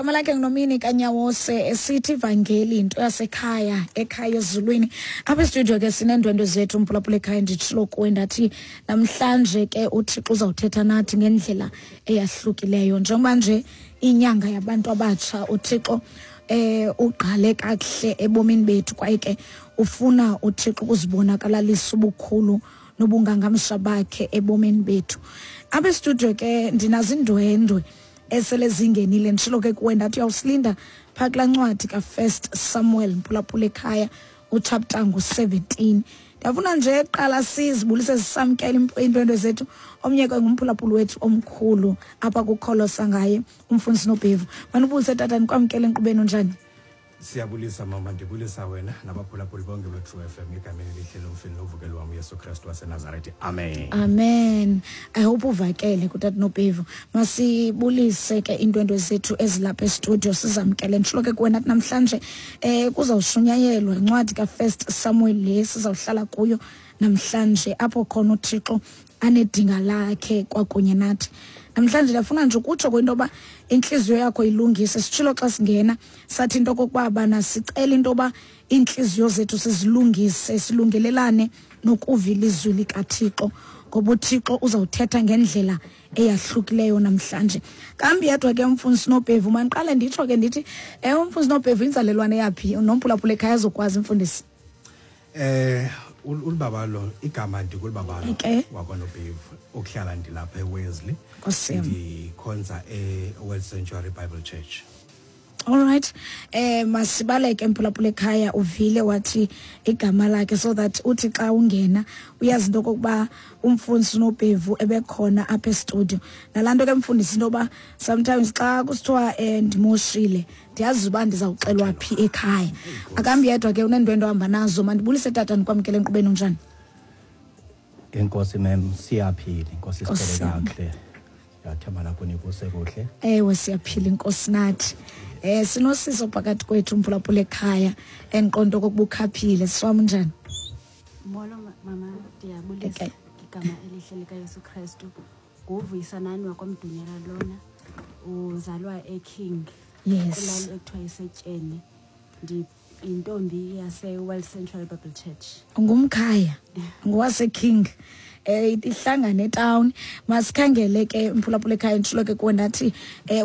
Gama lakhe nguNomini Kanyawose, esithi ivangeli into yasekhaya, ekhaya ezulwini. Apha estudio ke sineendwendwe zethu, umphulaphula ekhaya. Nditshilo kuwe ndathi namhlanje ke uThixo uzawuthetha nathi ngendlela eyahlukileyo, njengoba nje inyanga yabantu abatsha. UThixo ugqale kakuhle ebomini bethu, kwaye ke ufuna uThixo ukuzibonakalalisa ubukhulu nobungangamsha bakhe ebomini bethu. Apha estudio ke ndinazo indwendwe esele zingenile. Nditshilo ke kuwe ndathi uyawusilinda phaa kulaa ncwadi kaFirst Samuel, mphulaphula ekhaya, uchapter ngu-17. Ndiyafuna nje kuqala sizibulise, sisamkele iindwendwe zethu. Omnye ke ngumphulaphuli wethu omkhulu apha kukholosa ngaye, umfundisi Nobhevu. Manubulise tata, ndikwamkele enkqubeni. Unjani? Siyabulisa mama, ndibulisa wena nabaphulaphuli bonke be-True FM egameni elihle lomfini novukelo wam uYesu Kristu waseNazarethi, amen. Amen. I hope uvakele kutata Nobhevu. Masibulise ke iindwendwe zethu ezilapha estudio, sizamkele. Nditshilo ke kuwe nathi namhlanje kuzawushunyayelwa incwadi kaFirst Samuel le sizawuhlala kuyo namhlanje, apho khona uThixo anedinga lakhe kwakunye nathi namhlanje. Ndiyafuna nje ukutsho kwinto yoba intliziyo yakho ilungise. Sitshilo xa singena, sathi into okokuba bana sicela into yoba iintliziyo zethu sizilungise, silungelelane nokuva ilizwi likaThixo, ngoba uThixo uzawuthetha ngendlela eyahlukileyo namhlanje. Kambi yedwa ke umfundisi Nobhevu. Mandiqale nditsho ke ndithi umfundisi Nobhevu inzalelwane yaphi, nomphulaphula ekhaya azokwazi, mfundisi? Ulibabalo igama, ndikulibabalo wakwaNobhevu, okuhlala ndilapha eWesley. Nkosi yam. Ndikhonza eWorld Sanctuary Bible Church. Alright, masibaleke mphulaphula ekhaya. Uvile wathi igama lakhe, so that uthi xa ungena uyazi into okokuba umfundisi uNobhevu ebekhona apha estudio. Nalaa nto ke mfundisi, into yoba sometimes xa kusithiwa ndimoshile, ndiyazi uba ndizawuxelwa phi ekhaya. Akambi yedwa ke, uneendwendwe ohamba nazo. Mandibulise tata, ndikwamkele enkqubeni. Unjani? Enkosi mem, siyaphila, inkosi. Nkosi Siphele yam. kakuhle, ndiyathemba nakuni kuse kuhle. Ewe, siyaphila, inkosi nathi. Sinosiso phakathi kwethu, umphulaphula ekhaya, endiqonda okokuba ukhaphile. Siwam, unjani? Molo mama, ndiyabulisa ngegama elihle likaYesu Kristu. Nguvuyisanani wakwamdunyela lona, uzalwa eKing, kwilali ekuthiwa isetyeni. Ndiyintombi yase-World Central Bible Church. Ngumkhaya, ngowaseKing, ihlangane etown. Masikhangele ke mphulaphula ekhaya. Nditshilo ke kuwe ndathi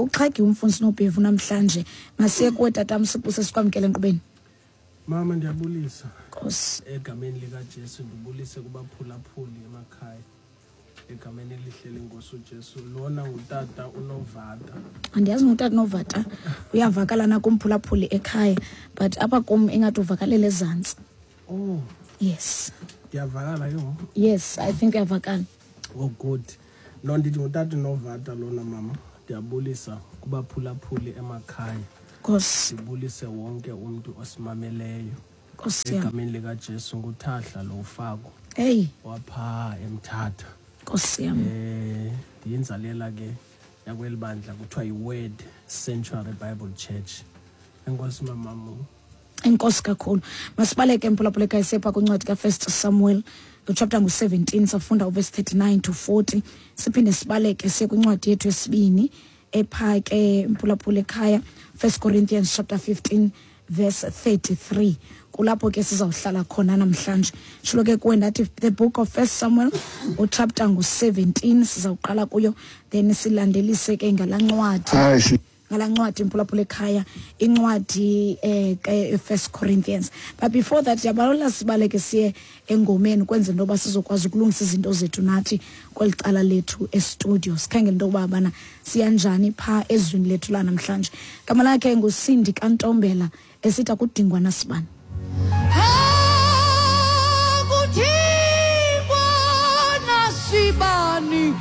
uxhagiwe umfundisi Nobhevu namhlanje. Masiye kuwe tatam, sibuse, sikwamkele enkqubeni. Mama, ndiyabulisa. Nkosi. Egameni likaJesu. Ndibulise kubaphulaphuli emakhaya egameni elihle lenkosi uJesu. Lona ngutata uNovata. Andiyazi ngutata Novata uyavakala nakumphulaphuli ekhaya, but apha kum ingathi uvakalela ezantsi. Oh. Yes. Ndiyavakala ke ngoku? Yes, I think uyavakala. Oh good. No, ndithi ngutata uNovata lona mama. Ndiyabulisa kubaphulaphuli emakhaya. Nkosi. Ndibulise wonke umntu osimameleyo. Nkosi yam. Egameni likaJesu. Nguthahla lo ufako Eyi. waphaa eMthatha. Nkosi yam. Ndiyinzalela ke yakweli bandla kuthiwa yi-Word Sanctuary Bible Church. Enkosi mamamu. Enkosi kakhulu. Masibaleke mphulaphula ekhaya, sepha kwincwadi kaFirst Samuel, uchapter ngu-17, safunda uverse 39 to 40. Siphinde sibaleke siye kwincwadi yethu yesibini epha ke mphulaphula ekhaya, First Corinthians chapter 15 verse 33. Kulapho ke sizawuhlala khona namhlanje. Tshilo ke kuwe ndathi the book of First Samuel, uchapter ngu-17 sizawuqala kuyo, then silandelise ke ngalaa ncwadi, ngalaa ncwadi mphulaphula ekhaya, incwadi ke First Corinthians. But before that, yabalola sibaleke siye engomeni kwenzela into yoba sizokwazi ukulungisa izinto zethu nathi kweli cala lethu estudio, sikhangele into yokuba bana siyanjani phaa ezwini lethu lanamhlanje. Gama lakhe nguSindi kaNtombela, esithi akudingwa nasibani. Akudingwa nasibani.